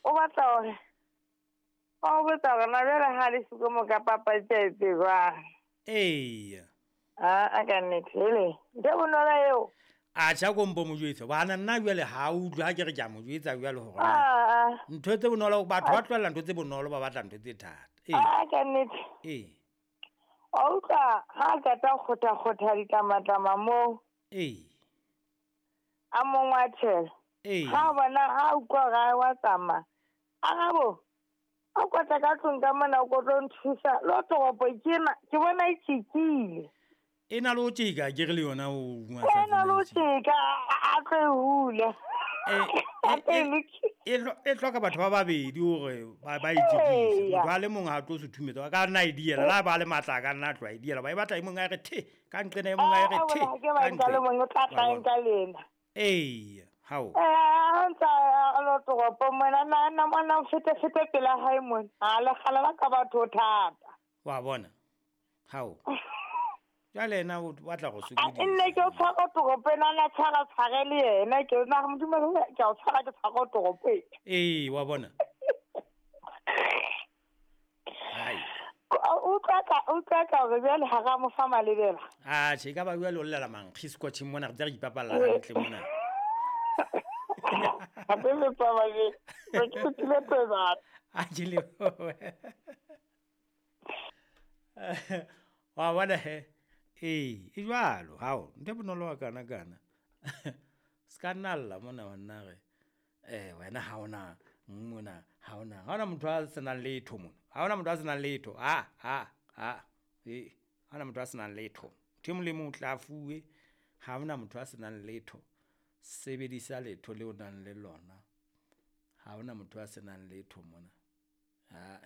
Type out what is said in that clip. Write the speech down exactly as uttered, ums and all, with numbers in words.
O batla hore o botsa hore na jwale ha le siko mo ka papadi tsa etse jwang. Eya. Ah, a ka nnete hele. Ntho e bonolo eo. A tjha ko mpo mo jwetse. Bana nna jwale ha o utlwe ha ke re ke a mo jwetsa jwale hore na. Ah, ah. Ntho tse bonolo batho ba tlohella ntho tse bonolo ba batla ntho tse thata. Ee. Ah, ka nnete. Ee. Wa utlwa ha a qeta ho kgotha-kgotha ditlamatlama moo. Ee. A mo ngwathela. Ee. Ha o bona ha utlwa hore a wa tsamaya. Arabo, a kotla ka tlung ka mona o ko tlo nthusa. Lo toropo ke ena, ke bona e tjekile. E na le ho tjeka, ke re le yona o bua E na le ho sa tsena tjeka, a, a tlo e hula. E, A e, tlo e e, lokisa. e hlo-, e hloka batho ba babedi hore ba, ba e tjekise. Eya. Motho a le mong ha tlo se thumetsa, a ka nna a e diela. Le ha ba le matla, a ka nna a tloha e diela. Ba e batla e mong a re the, ka nqena e mong a re Ah, the, bona, ke ba ka nka le nqena. mong o tla Wa tla bona? nka lena. Eya, hao. Eh, ha ntsa a lo toropo mona, na, na, mona o fete, fete pela hae mona. A le kgala la ka batho thata. Wa bona? Hao. Jwale yena o batla go A, sokodisa. nne ke o tshwara toropo ena, na tshwara tshware le yena, ke o nna Modimo, ke a o tshwara, ke tshwara toropo ena. Ee, wa bona? Hai. O utlwa ka, o utlwa ka hore jwale ha ra mo fa malebela. Ah, tjhe, e ka ba jwale o llela mankgi scotching mona, re tla re ipapalla hantle mona. Hape le tsamaya, re ke tlile tsena. A ke le. Wa bona he? Ee, e jwalo, hao, ntho e bonolo wa kana kana. Se ka nna lla mona wa nna re, eh, wena ha ona, mona, ha ona. Ha ona motho a senang letho mona. Ha ona motho a senang letho. Ha, ha, ha. Eh, ha ona motho a senang letho. Motho e mong le mong o tla fuwe. Ha ona motho a senang letho. Sebedisa letho leo o nang le lona. Ha ona motho a senang letho mona. Ha.